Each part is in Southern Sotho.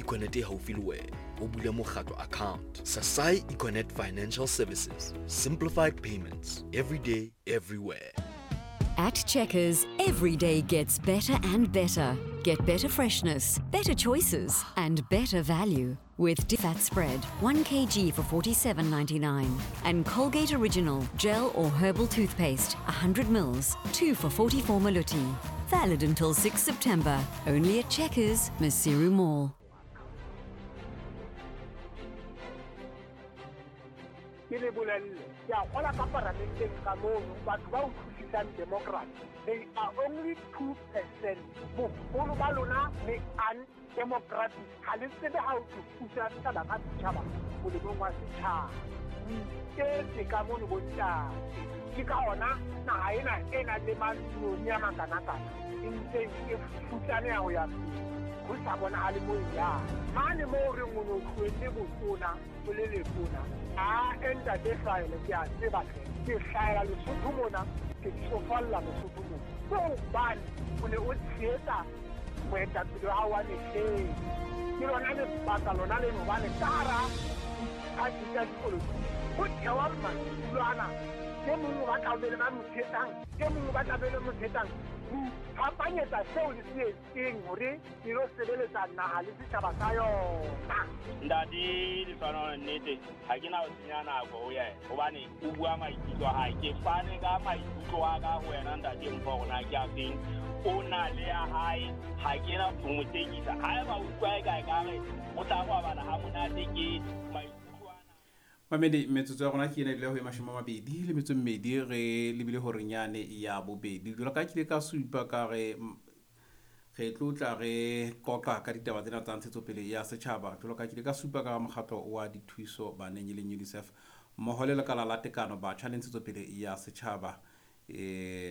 Econet e haufi le wena o bule mokgatlo account. Sasai Econet Financial Services. Simplified payments. Every day, everywhere. At Checkers, every day gets better and better. Get better freshness, better choices, and better value with Fat Spread, 1 kg for 47.99, and Colgate Original Gel or Herbal Toothpaste, 100 mils, 2 for 44 maluti. Valid until 6 September, only at Checkers, Maseru Mall. Ke le bolelle, ke a kgola ka paramenteng ka mono batho ba utlwisisang democracy, they are only 2%. Boholo ba lona le undemocratic, ha le tsebe ha o puso ya setjhaba ka setjhaba molemong wa setjhaba. O iketse ka mono bontate, ke ka ona naha ena e nang le manoni a makanakana e ntseng e futsaneha ho ya pele, ho sa bonahale mo e yang. Mane moo re o no tlohelle botona o le letona, a ntate hlahele, ke a tseba hle, ke hlahela Lesotho mona, ke tsofalla Lesotho mona. Ke hobane o ne o tshehetsa moetapele wa hao wa mehleng. Ke lona lebaka lona leno, hobane ka hara diphathi tsa dipolotiki ho thewa madulo ana, e mong o batla ho be le ba mo tshehetsang, e mong o batla be le mo tshehetsang. Ho iphapanyetsa seo le se etseng hore e lo sebeletsa naha le setjhaba sa yona. Ntate Lehlohonolo, nnete ha ke na ho senya nako ho yena, hobane o bua maikutlo a hae. Ke fane ka maikutlo a ka ho wena ntate Mpho, hore na ke a feng. O na le ya hae, ha ke na ho mo tekisa. Haeba o utlwa eka ekare o tla robala ha monate, ke maikutlo ana. Mamedi, metsotso ya rona ke ena ebile ho e 22 re lebile horeng yane ya bobedi. Jwalo ka ke ile ka supa ka re re tlo tla re qoqa ka ditaba tsena tsa ntshetsopele ya setjhaba. Jwalo ka ke ile ka supa ka mokgatlo wa dithuso baneng e leng UNICEF mmoho le lekala la tekano batjha le ntshetsopele ya setjhaba.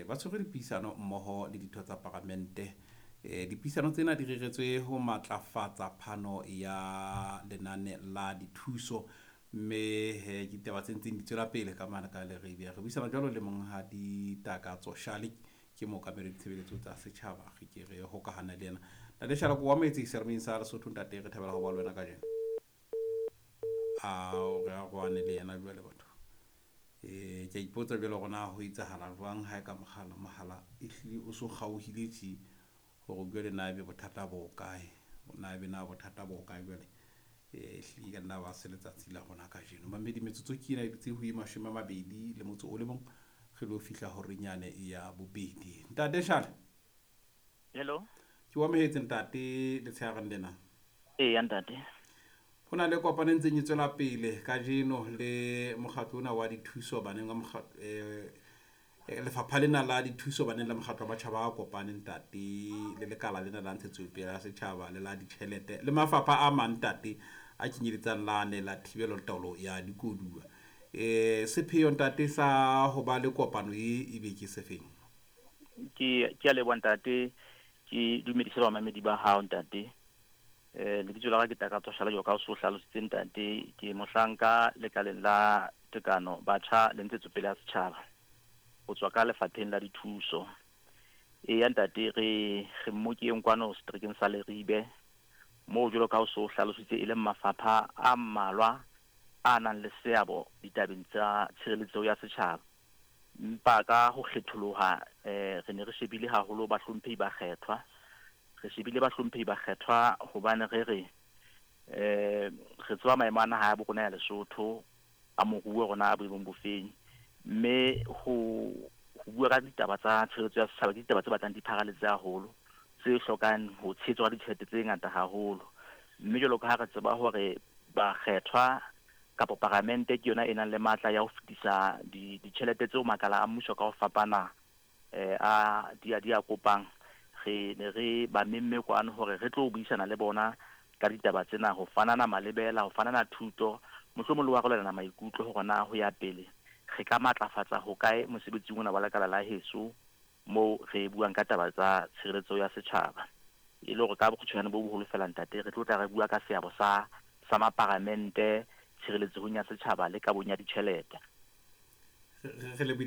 Ba tshwere dipuisano mmoho le ditho tsa paramente. Dipuisano tsena di reretswe ho matlafatsa phano ya lenane la dithuso, mme he ke ditaba tse ntseng di tswela pele ka mane ka Leribe. Re buisana jwalo le monghadi Takatso Shale, ke mookamedi wa ditshebeletso tsa setjhaba. Re ke re hokahana le yena. Ntate Shale, ko amohetse serameng sa Lesotho. Ntate, re thabela ho ba le wena kajeno. Ao, re arohane le yena jwale batho. Ke a ipotsa jwale hore na ho etsahala jwang ha e ka mohala, mohala ehlile o so kgaohile tje, hore jwale na ebe bothata bo kae, na ebe na bothata bo kae jwale. Ehlile ka nna ba se letsatsi la rona kajeno. Mamedi, metsotso ke ena e dutse ho e 21, re lo fihla horeng yane ya bobedi. Ntate Shale. Hello. Ke o amohetse ntate letshehareng lena. Eya ntate. Ho na le kopano e ntseng e tswela pele kajeno le mokgatlo ona wa dithuso baneng wa mokgatlo, lefapha lena la dithuso baneng la mokgatlo wa matjhaba a kopaneng ntate, le lekala lena la ntshetsopele ya setjhaba le la ditjhelete le mafapha a mang ntate a kenyeletsang lane la thibelo le taolo ya dikoduwa. Sepheo ntate sa ho ba le kopano e ebe ke sefeng? Ke a leboha ntate, ke dumedise bamamedi ba hao ntate. Lebitso la ka ke Takatso Shale, jwalo ka o so hlalositse ntate. Ke mohlanka lekaleng la tekano batjha le ntshetsopele ya setjhaba, ho tswa ka lefapheng la dithuso. Eya ntate, re mmokeng kwano seterekeng sa Leribe, moo jwalo ka o so hlalositse e leng mafapha a mmalwa a nang le seabo ditabeng tsa tshireletso ya setjhaba. Empa ka ho kgetholoha, re ne re shebile haholo bahlomphehi ba kgethwa. Re shebile bahlomphehi ba kgethwa hobane re re re tseba maemo a naha ya bo rona ya Lesotho, a moruo rona a boemong bofeng. Mme ho bua ka ditaba tsa tshireletso ya setjhaba ke ditaba tse batlang di pharaletse haholo, tse hlokang ho tshehetswa ka ditjhelete tse ngata haholo. Mme jwalo ka ha re tseba hore bakgethwa kapa paramente ke yona e nang le matla ya ho fetisa ditjhelete tseo makala a mmuso ka ho fapana a di a kopang, re ne re ba memme kwano hore re tlo buisana le bona ka ditaba tsena, ho fanana malebela, ho fanana thuto, mohlomong le ho arolelana maikutlo hore na ho ya pele re ka matlafatsa ho kae mosebetsing ona wa lekala la heso moo re buang ka taba tsa tshireletso ya setjhaba. E le hore ka bokgutshwanyane bo boholo fela ntate, re tlo tla re bua ka seabo sa maparamente tshireletsehong ya setjhaba le kabong ya ditjhelete. Re